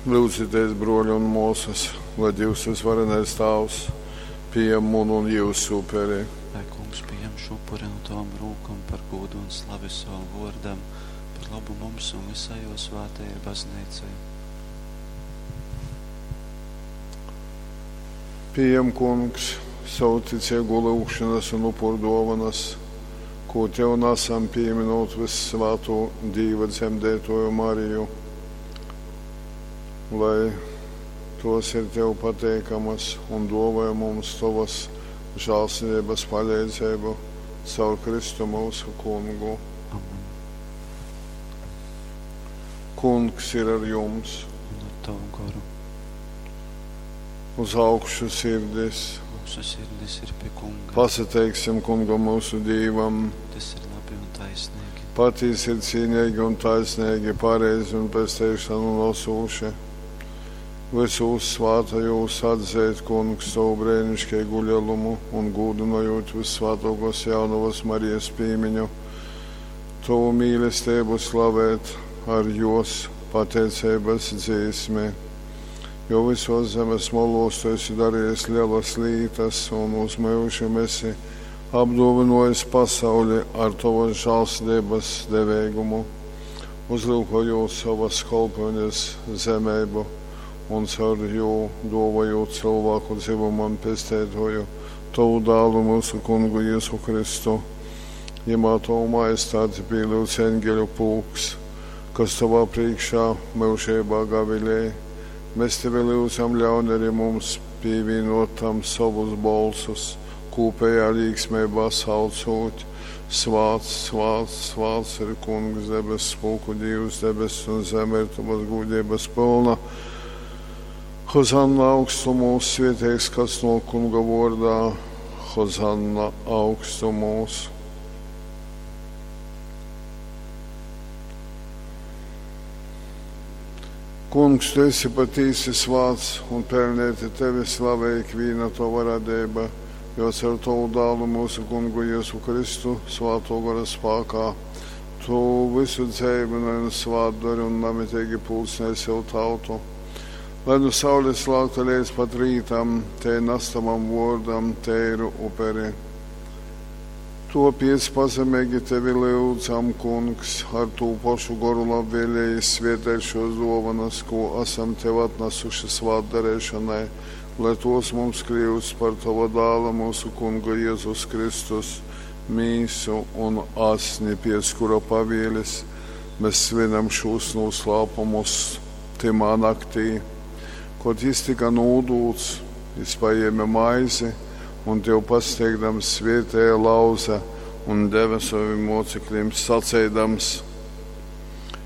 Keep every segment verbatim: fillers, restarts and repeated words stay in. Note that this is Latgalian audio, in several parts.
Lyudzitēs, bruoļi un muosys, lai Dīvs Vysvarenais Tāvs pījam munu un jiusu uperi. Lai Kungs pījam šo upuri no tavom rūkom par gūdu un slavi savam vōrdam, par lobu mums un visai jō svētajai Bazneicai. Pījam, Kungs, savu ticeigū lyugšonas un upurduovanas, kū Tev nasam pīminūt vyssvātū Dīva dzemdeituoju Mariju, lai tuos ir Tev pateikamys un duovoj mums Tovys žālsirdeibys paleidzeibu caur Kristu myusu Kungu. Amen. Kungs ir ar jums! Un ar tavu goru. Uz augšu sirdis! Mūsu sirdis ir pie Kunga. Pasateiksim Kungam myusu Dīvam! Tas ir labi un taisnīgi. Patīsi ir cīneigi un taisneigi, pareizi un pesteišonu nosūši. Vysūs svātajūs atzeit, Kungs, tovu breiniškeigu lielumu un gūdynojot vyssvātuokos jaunovas Marijas pīmiņu, tovu mīlesteibu slavēt ar jos pateiceibys dzīsmi. Jo vysuos zemes moluos tu esi darejis lelas lītas un uz myužim esi apduovynuojis pasauli ar tovys žālsirdeibys deveigumu, uzlyukojūt sovys kolpyunis zemeibu un caur jū duovojūt cylvāku dzymumam Pesteituoju, tovu Dālu, myusu Kungu Jezu Kristu. Jimā tovu majestāti pīlyudz eņgeļu pulks, kas tovā prīškā myužeibā gavilej. Mēs tevi lyudzam, ļaun arī mums pīvīnuot tam sovus bolsus, kūpējā līksmeibā saucūt: Svāts, svāts, svāts ir Kungs, debesu pulku Dīvs, debess un zeme ir tavas gūdeibys pylna. Hozanna augstumūs, svieteigs, kas nuok Kunga vuordā, Hozanna augstumūs. Kungs, tu esi patīsi svāts un pelnēti tevi slavē ikvīna tova radeiba, jo caur tovu dālu mūsu Kungu Jēzu Kristu svāto gora spākā tu visu dzeivynoj un svātdori un namiteigi pulcnej sev tautu. Lai nu saules lākta leidz pat rītam, tei nas tavam vuordam teiru uperi. Tuopiec pazemeigi tevi lyudzam, Kungs, ar tū pošu goru labvēlīgi svieteit šuos duovanas, kū asam tev atnasuši svātdareišonai, lai tuos mums kliust par tova dāla, mūsu Kunga Jezus Kristus, mīsu un asni, piec kura pavielis mēs svinam šūs nūslāpumus tymā naktī. Kod jis tyka nūdūts, jis pajēme maizi un Tev pasteigdams svietēja, lauze un deve sovim moceklim, saceidams: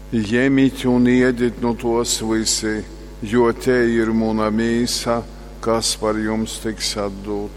Jemit un iedit nu tuos vysi, jo tei ir muna mīsa, kas par jums tiks atdūta.